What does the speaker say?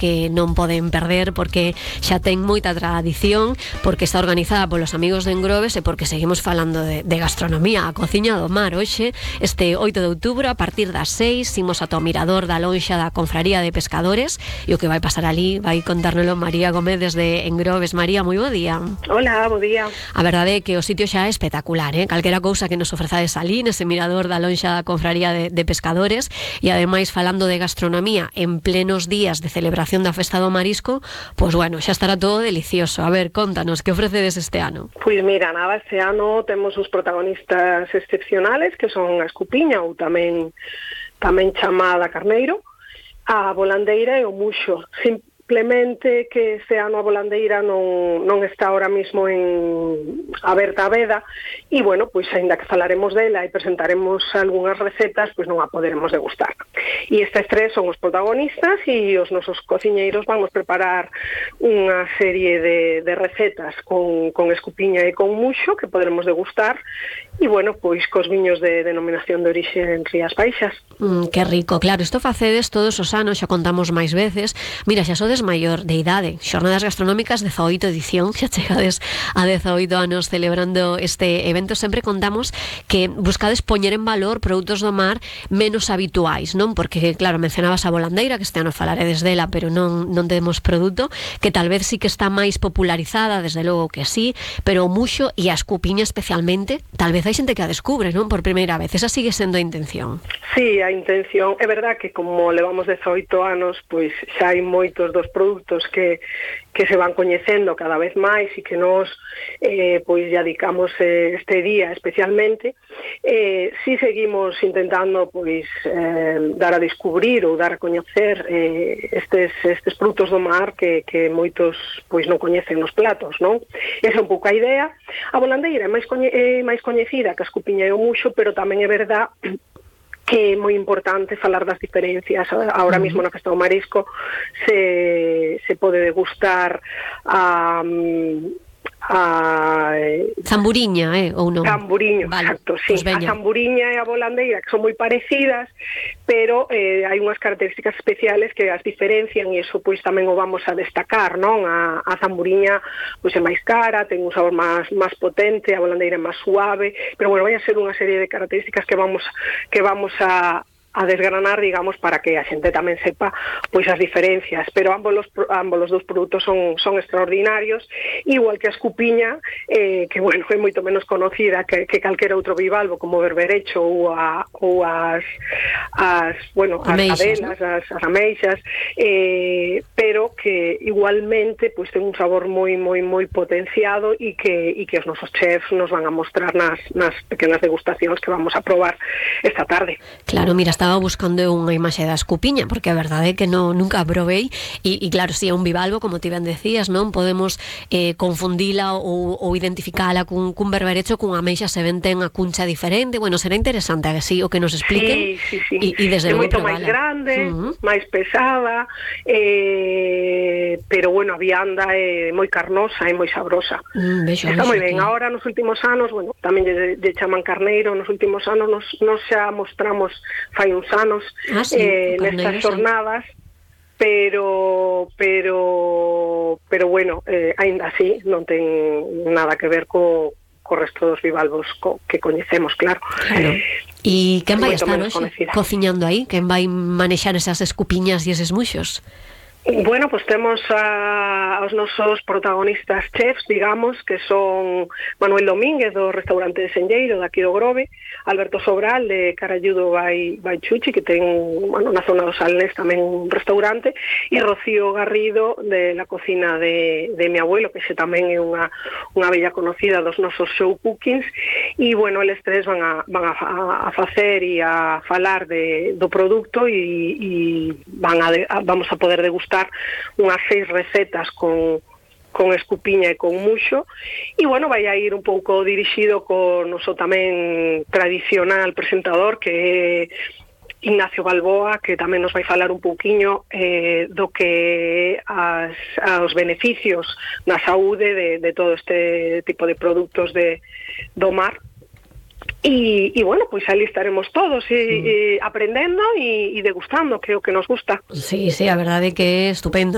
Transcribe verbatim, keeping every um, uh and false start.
que non poden perder porque xa ten moita tradición, porque está organizada polos amigos de Engrobes e porque seguimos falando de, de gastronomía. A Cociña do Mar hoxe, este oito de outubro, a partir das seis, imos ata o mirador da lonxa da Confraría de Pescadores e o que vai pasar ali vai contárnelo María Gómez desde Engrobes. María, moi bo día. Hola, bo día. A verdade é que o sitio xa é espectacular, eh? Calquera cousa que nos ofrezades ali nese mirador da lonxa da Confraría de, de Pescadores, e ademais falando de gastronomía en plenos días de celebración da Festa do Marisco, pois bueno, xa estará todo delicioso. A ver, contanos, que ofrecedes este ano? Pois mira, nada, este ano temos os protagonistas excepcionales, que son a escupiña, ou tamén tamén chamada carneiro, a volandeira e o muxo. Simplemente que este ano a volandeira non, non está ahora mismo en aberta a veda, e bueno, pois aínda que falaremos dela e presentaremos algunhas recetas, pois non a poderemos degustar. E estes tres son os protagonistas, e os nosos cociñeiros vamos preparar unha serie de, de recetas con, con escupiña e con muxo que poderemos degustar, e bueno, pois cos viños de denominación de orixe en Rías Baixas. Mm, que rico, claro, isto facedes todos os anos, xa contamos máis veces. Mira, xa sodes maior de idade, Xornadas Gastronómicas dezaoito edición, xa chegades a dezaoito anos celebrando este evento. Sempre contamos que buscades poñer en valor produtos do mar menos habituais, non? Porque, claro, mencionabas a volandeira, que este ano falaredes dela, pero non, non temos produto, que tal vez sí que está máis popularizada, desde logo que sí, pero o muxo e a escupiña especialmente, tal vez hai xente que a descubre, non? Por primeira vez, esa sigue sendo a intención. Sí, a intención, é verdad que como levamos dezaoito anos, pois xa hai moitos dos produtos que, que se van coñecendo cada vez máis e que nos eh, pois ya dedicamos eh, este día especialmente. Eh, si seguimos intentando pois eh, dar a descubrir ou dar a coñecer eh, estes, estes produtos do mar que, que moitos pois non coñecen nos platos, non? Esa é un pouco a idea. A volandeira é máis, coñe, é máis coñecida que a escupiña e o muxo, pero tamén é verdad que é moi importante falar das diferencias. Ahora mismo na Festa do Marisco se, se pode degustar a... Um, a zamburiña, eh, ou non? Zamburiño, vale, exacto, sí. Pues a zamburiña e a volandeira, que son moi parecidas, pero eh, hai unhas características especiales que as diferencian, e iso pois tamén o vamos a destacar, non? A, a zamburiña pois é máis cara, ten un sabor máis máis potente, a volandeira é máis suave, pero bueno, vai a ser unha serie de características que vamos que vamos a a desgranar, digamos, para que a xente tamén sepa pois as diferencias, pero ambos los, ambos os dous produtos son, son extraordinarios, igual que a escupiña, eh, que, bueno, é moito menos conocida que, que calquera outro bivalvo, como o berberecho ou, a, ou as, as, bueno, as ameixas, cadelas, ¿no? as, as ameixas, eh, pero que igualmente pois ten un sabor moi, moi, moi potenciado e que, e que os nosos chefs nos van a mostrar nas, nas pequenas degustacións que vamos a probar esta tarde. Claro, mira, estaba buscando unha imaxe da escupiña, porque a verdade é que no, nunca a probei, e, e claro, si é un bivalvo, como ti ben decías, non? Podemos eh, confundila ou, ou identificala cun, cun berberecho, cun ameixa se ven ten a cuncha diferente. Bueno, será interesante a que sí, o que nos expliquen. Sí, sí, sí. E, e desde é logo moito probala. máis grande, uh-huh. máis pesada, eh, pero bueno, a vianda é moi carnosa e moi sabrosa. Mm, vexo, Está vexo moi ben. que... Ahora, nos últimos anos, bueno, tamén lle, lle chaman carneiro, nos últimos anos nos, nos xa mostramos fai uns anos ah, sí, eh, nestas xornadas, pero pero pero bueno, eh, aínda así non ten nada que ver co, co resto dos bivalvos co, que coñecemos, claro. Claro. E quen vai estar hoxe cociñando aí? Quen vai manexar esas escupiñas e eses muxos? Bueno, pues temos a, aos nosos protagonistas chefs, digamos, que son Manuel Domínguez do restaurante de Senlleiro, daqui do Grove, Alberto Sobral de Caralludo by, by Chuchi, que ten, bueno, na zona dos Salnés tamén un restaurante, e Rocío Garrido de la cocina de, de mi abuelo, que xe tamén é unha, unha bella conocida dos nosos show cookings, e bueno, eles tres van a, van a, a facer e a falar de, do produto e, e van a, a, vamos a poder degustar unhas seis recetas con, con escupiña e con muxo, e bueno, vai a ir un pouco dirixido con noso tamén tradicional presentador, que é Ignacio Balboa, que tamén nos vai falar un pouquiño eh, do que as, aos beneficios na saúde de, de todo este tipo de produtos de, do mar. E, e bueno, pois ali estaremos todos e, mm. e aprendendo e, e degustando, que é o que nos gusta. Sí, sí, a verdade é que é estupendo.